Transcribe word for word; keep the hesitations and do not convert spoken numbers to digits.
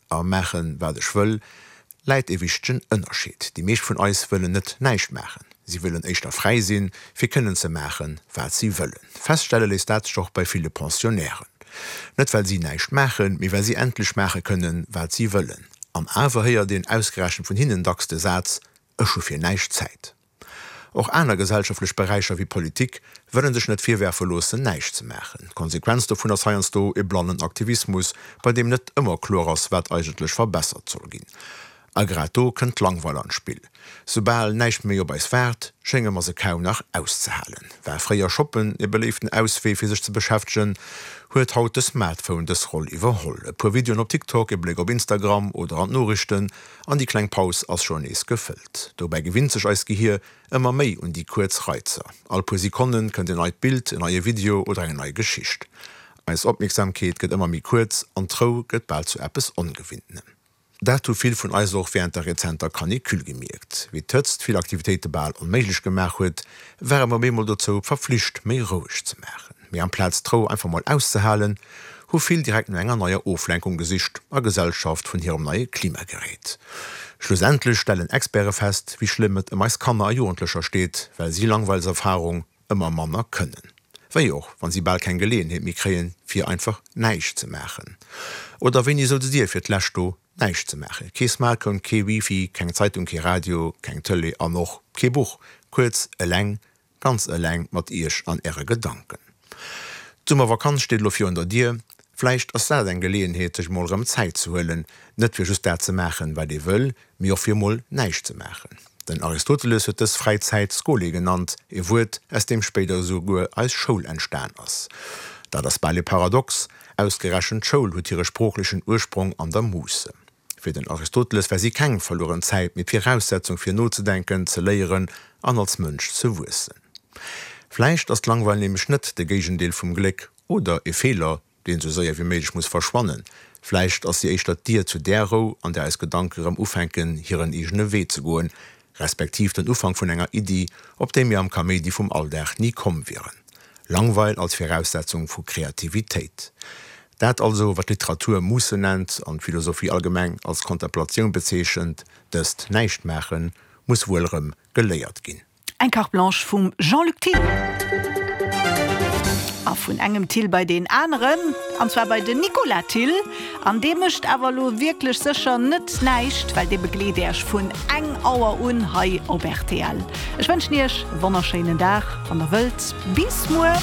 a maachen, wat ech wëll, läit e wichtegen Ënnerscheed. Déi meescht vun eis wëllen net näischt maachen. Si wëllen éischter fräi sinn, fir kënnen ze maachen, wat si wëllen. Feststelle léisst dat sech och bei ville Pensionnairen. Net well si näischt maachen, mee well si endlech maache kënnen, wat si wëllen. An awer héiert een ausgerechent vun hinnen dacks de Saz, Ech hu fir näischt Zäit. Och aner gesellschaftlech Beräicher wéi Politik wëllen sech net virwerfe loossen, näischt ze maachen. D'Konsequenz dovun ass heiansdo e blannen Aktivismus, bei deem net ëmmer kloer ass, wat eigentlech verbessert soll ginn. A grad do kënnt d'Langweil an d'Spill. Soubal näischt méi op eis waart, schénge mer se kaum nach auszehalen. War fréier Shoppen e beléiften Auswee fir sech ze beschäftegen, huet haut de Smartphone dës Roll iwwerholl. E puer Videoen op TikTok, e Bléck op Instagram oder an d'Noriichten, an déi kleng Paus ass schonn nees gefëllt. Dobäi gewinnt sech eist Gehier ëmmer méi un déi kuerz Reizer. All puer Sekonne kënnt en neit Bild, en neie Video oder eng nei Geschicht. Eis Opmierksamkeet gëtt ëmmer méi kuerz an d'Rou gëtt bal zu eppes Ongewinntenem. Dat hu vill vun eis och wärend der rezenter Canicule gemierkt. Wéi d'Hëtzt vill Aktivitéite bal onméiglech gemaach huet, ware mer op eemol dozou verflicht, méi roueg ze maachen. Mee amplaz d'Rou einfach mol auszehalen, hu vill direkt no enger neier Oflenkung gesicht, a Gesellschaft vun hirem neie Klimagerät. Schlussendlech stellen Experte fest, wéi schlëmm et ëm eis Kanner a Jugendlecher steet, well si Langweilserfarung ëmmer manner kënnen. Wéi och, wann si bal keng Geleeënheet méi kréien, fir einfach näischt ze maachen. Oder wéini soutzt Dir fir d'lescht do, näischt ze maachen? Kee Smartphone, kee Wifi, keng Zeitung, kee Radio, keng Tëlee an och kee Buch. Kuerz, eleng, ganz eleng mat Iech an Äre Gedanken. D'Summervakanz steet elo virun der Dier. Vläicht ass dat eng Geleeënheet, sech mol erëm Zäit ze huelen, net fir just dat ze maachen, wat ee wëll, mee och fir mol näischt ze maachen. Den Aristoteles huet dës fräi Zäit Skole genannt, e Wuert, aus deem spéider esouguer eis Schoul entstan ass. Dat ass bal e Paradox, ausgerechent d'Schoul huet hire sproochlechen Ursprong an der Musse. Fir den Aristoteles war si keng verlueren Zäit, mee d'Viraussetzung fir nozedenken, ze léieren an als Mënsch ze wuessen. Vläicht ass d'Langweil nämlech net de Géigendeel vum Gléck oder e Feeler, deen esou séier wéi méiglech muss verschwannen. Vläicht ass si éischter d'Dier zu där Rou, an där eis Gedanke rëm ufänken, hiren eegene Wee ze goen, respektiv den Ufank vun enger Iddi, op déi mir am Kaméidi vum Alldag ni komm wieren. Langweil als Viraussetzung vu Kreativitéit. Dat also, wat d'Literatur Musse nennt an d'Philosophie allgemeng als Kontemplatioun bezeechent, dëst Näischtmaachen, muss wuel erëm geléiert ginn. Eng Carte Blanche vum Jean-Luc Thill. A vun engem Thill bei deen aneren, an zwar bei den Nicolas Thill. An dee mécht awer elo wierklech sécher net näischt, well dee begleet Iech vun eng Auer un hei op rtl. Ech wënschen Iech e wonnerschéinen Dag, wann Der wëllt. Bis muer!